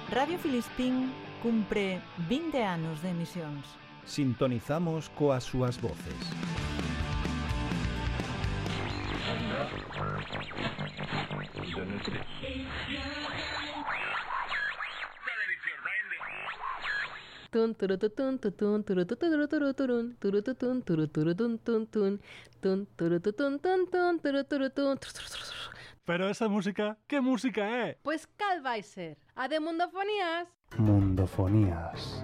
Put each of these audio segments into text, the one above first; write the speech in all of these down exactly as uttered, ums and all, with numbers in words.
Radio Filispín cumpre vinte anos de emisións. Sintonizamos coas súas voces. Tun turututun tutun turututuruturun turututun turuturutun tun tun tun turututun tun tun turuturutun. Pero esa música, que música é? Pois cal vai ser? A de Mundofonías? Mundofonías.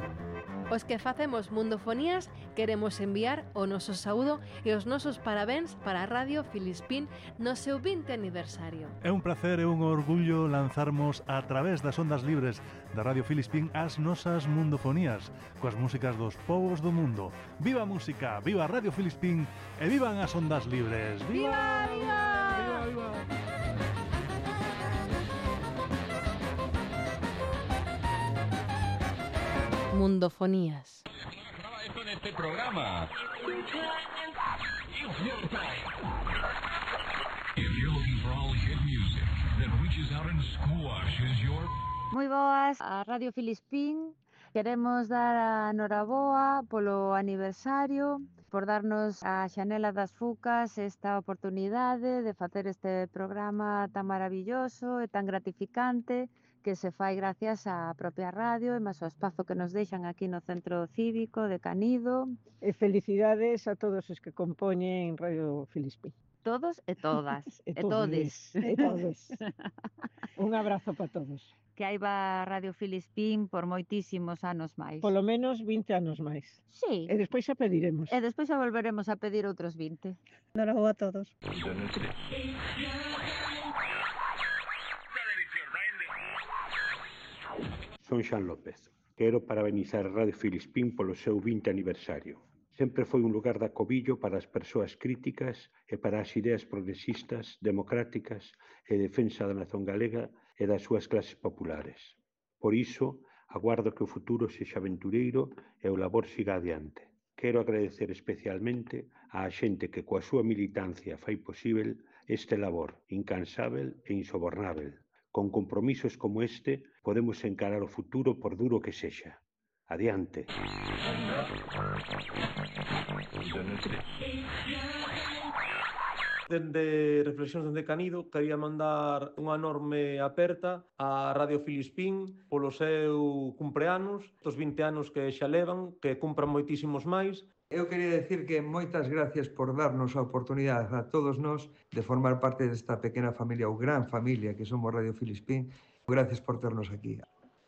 Os que facemos Mundofonías queremos enviar o noso saúdo e os nosos parabéns para a Radio Filispín no seu vinte aniversario. É un placer e un orgullo lanzarmos a través das ondas libres da Radio Filispín as nosas Mundofonías, coas músicas dos povos do mundo. Viva a música, viva a Radio Filispín e vivan as ondas libres. Viva, viva! Viva, viva! Mundofonías. Esto en este programa. If you're looking for all hit music that reaches out and squashes your... Moi boas, a Radio Filispín. Queremos dar a noraboa polo aniversario, por darnos a Xanela das Fucas esta oportunidade de facer este programa tan maravilloso e tan gratificante que se fai gracias á propia radio e máis ao espazo que nos deixan aquí no Centro Cívico de Canido. E felicidades a todos os que compoñen Radio Filispín. Todos e todas, E e todes. E todes. Un abrazo para todos. Que aí va Radio Filispín por moitísimos anos máis. Polo menos vinte anos máis. Sí. E despois xa pediremos. E despois xa volveremos a pedir outros vinte. Noraboa a todos. Son Xan López. Quero parabenizar a Radio Filispín polo seu vinte aniversario. Sempre foi un lugar de acobillo para as persoas críticas e para as ideas progresistas, democráticas e defensa da nación galega e das súas clases populares. Por iso, aguardo que o futuro sexa aventureiro e o labor siga adiante. Quero agradecer especialmente á xente que coa súa militancia fai posíbel este labor incansável e insobornável. Con compromisos como este, podemos encarar o futuro por duro que sexa. Adiante. Dende Reflexións dende Canido, quería mandar unha enorme aperta á Radio Filispín polo seu cumpleanos, estos vinte anos que xa levan, que cumpran moitísimos máis. Eu quería decir que moitas gracias por darnos a oportunidade a todos nós de formar parte desta pequena familia ou gran familia que somos Radio Filispín. Gracias por ternos aquí.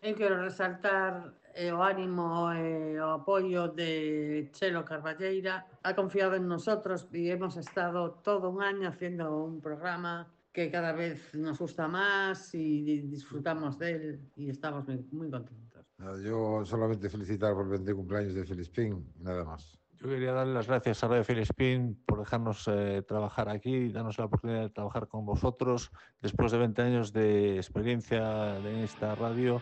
Eu quero resaltar eh, o ánimo e eh, o apoio de Chelo Carballeira. Ha confiado en nosotros e hemos estado todo un año haciendo un programa que cada vez nos gusta más y disfrutamos de él y estamos muy, muy contentos. Yo solamente felicitar por el veinte cumpleaños de Filispín, nada más. Yo quería darle las gracias a Radio Filispín por dejarnos eh, trabajar aquí y darnos la oportunidad de trabajar con vosotros. Después de veinte años de experiencia en esta radio,